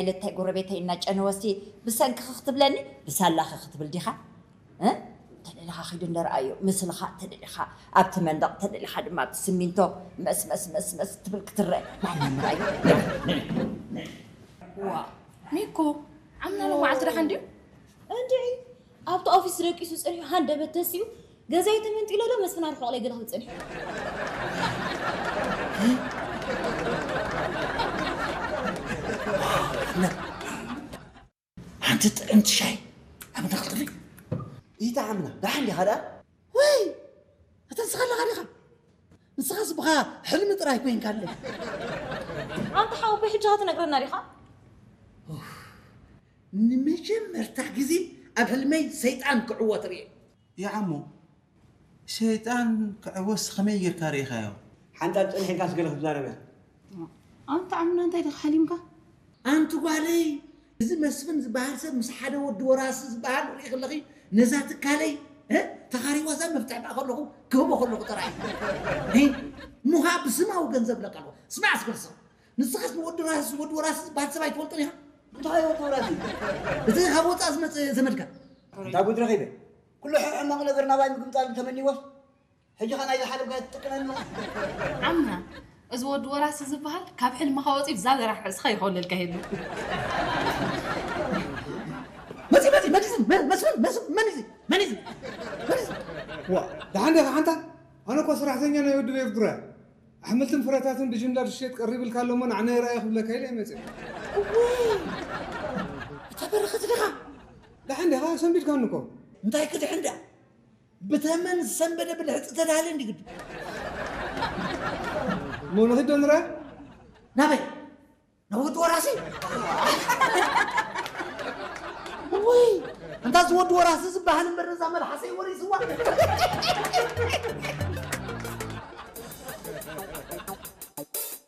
ኢለታይ ጎረቤተይ እናጨነወሲ ብሰንክኺ ክትብለኒ ብሳላኺ ክትብል ዲኻ? እ? ተደሊኻ ኺድ እንደረኣዮ ምስልኻ ተደሊኻ ኣብቲ መንደቕ ተደሊኻ ድማ ኣብቲ ስሚንቶ መስ መስ መስ መስ ትብል ክትረአ ማንም ራእዩ። ዋ ሚኮ ዓምና ሎማዓልቲ ደሓን ድዩ? እንድዒ ኣብቲ ኦፊስ ደቂሱ ፀኒሑ ሃንደበት ተሲኡ ገዛይ ተመንጢሎ ዶ መስፍን ኣርሕቕ ለይ ገለ ክብል ፀኒሑ። ሓንቲ ጥዕምቲ ሻይ ኣብ ንኽልተፊ። ይተዓምና ደሓን ዲኻ ደኣ? ወይ እተንስኻ ኣለኻ ዲኻ? ንስኻስ ብኻ ሕልሚ ጥራይ ኮይንካ ኣለይ። ኣንታ ሓወቦይ ሕጂ ትነግረና ዲኻ? ንመጀመርታ ግዜ ኣብ ሕልመይ ሰይጣን ክዕወት ርእየ። ይዓሞ ሸይጣን ክዕወስ ከመይ ጌርካ ርኢኻዮ? ሓንጣ ጸኒሕካስ ገለ ክትዛረብ እያ። ኣንታ ዓምና እንታይ ዲኻ ሓሊምካ? ኣንቲ ጓለይ እዚ መስፍን ዝበሃል ሰብ ምስ ሓደ ወዲ ወራሲ ዝበሃል ርኢ ከለኺ ነዛ ትካለይ ተኻሪዋዛ መፍትሕ ደኣ ከለኹ ክህቦ ከለኹ ጥራይ ሙኻ ብስማዊ ገንዘብ ለካ ኣለኹ ስማዕ ስክርሶ ንስኻስ ንወዲ ወራሲ ዝበሃል ሰብ ኣይትፈልጦን ኢኻ እንታይ ወዲ ወራሲ እቲ ካብ ወፃእ ዝመፀ ዘመድካ እንታይ ጉድ ረኺበ ኩሉ ሕማቕ ነገር ናባይ ምግምጣል ተመኒዎስ ሕጂ ኸ ናይ ዝሓለፍካ ትጥቀመሉ ዓምና እዚ ወዲ ወራሲ ዝበሃል ካብ ሕልምኻ ወፂ ብዛ ዘራሕ ርእስኻ ይኸውለልካ ይህሉ መፂ መፂ መዲዝን መስፍን መስፍን መን እዚ መን እዚ መን እዚ ዋ ደሓን ዲኻ ሓንታ ኣነ እኮ ሰራሕተኛ ናይ ወዲ ቤርዱራ ኣሕምልትን ፍረታትን ብጅምላ ድሸጥ ቀሪብልካ ኣለሞ ንዓና ይረኣየ ክብለካ ኢለ ይመፅእ እታ በረኸት ዲኻ ደሓን ዲኻ ሰንቢድካኒ እኮ እንታይ ክድሕን ዳ ብተመን ዝሰንበደ ብልሕፂ ተዳለ እንዲ ግዱ እሞ ንኽድ ዶ ንርኣ ናበይ ናብ ወዲ ወራሲ ወይ እንታ ዝወዲ ወራሲ ዝበሃል እምበር ነዛ መልሓሰይ ወሪስዋ